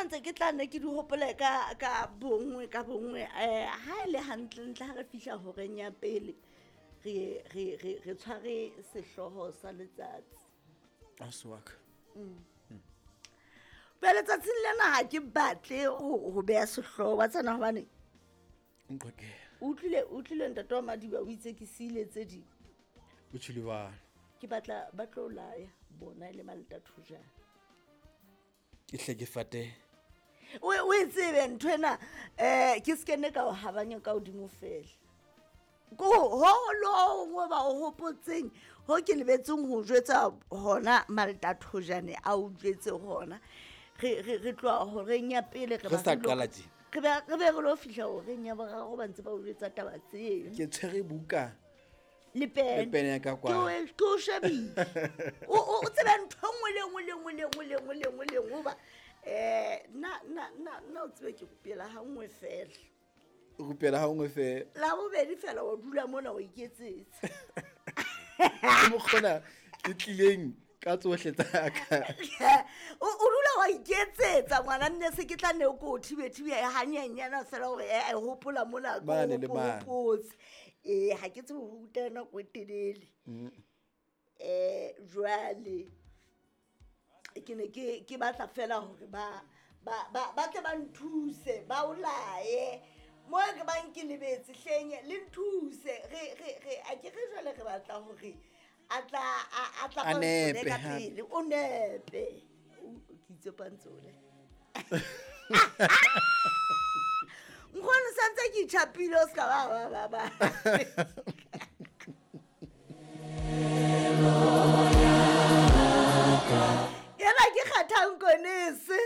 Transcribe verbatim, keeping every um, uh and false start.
tsena ntse ke tla nne ke di hopole ka ka bongwe ka bongwe. um Ha e le hantlentle ha re fihla horeng ya pele, re re re re tshware sehlooho sa letsatsi. Ausi wa ka. Pele tsatsing lena ha ke batle ho ho beha sehlooho wa tsena hobane Nqoke. o utlwile o utlwile ntate wa Madiba o itse ke siile tse ding. O tjhele jwalo. Ke batla ba tlo laya bona e le Malta Thojane. Ke hle ke fate. O o e tsebe nthwena eh ke se kene ka o habanya ka hodimo fela. Ko ho lo ho ba o hopotseng ho ke lebetseng ho jwetsa hona Malta Thojane a o jwetse hona. Re re re tloha horeng ya pele re Re sa ba re lo- qala tje. Re be re be re lo fihla horeng ya boraro ba ntse ba o jwetsa taba tseo. Ke tshwere buka. Le pene. Le pene ya ka Ke o kwa. ke o shebile. O o o tsebe ntho e nngwe le nngwe le nngwe le nngwe le nngwe le nngwe le nngwe hoba eh nna nna nna nna o tsebe ke rupela ha nngwe fela. O rupela ha nngwe fela. La bobedi fela wa dula mona o iketsetsa. Ke mokgona ke tlileng ka tsohle tsa ka. O o dula wa iketsetsa ngwana nne se ke tla nne ko o thibe thibe hanyenyana fela hore eh eh, hopola mona ko Mane le mane. hopotse. Eh ha ke tsebe ho ruta nako e telele. Eh jwale ke ne ke ke batla fela hore ba ba ba ba tle ba nthuse ba o laye mo ke bang ke lebetse hleng le nthuse re re re a ke re jwale re batla hore a tla a a tla A pantsole nepe ka hape. pele o nepe O- ke itse pantsole nkgono santse ke itjhapile o ska ba ba ba ba ena ke kgathang konese.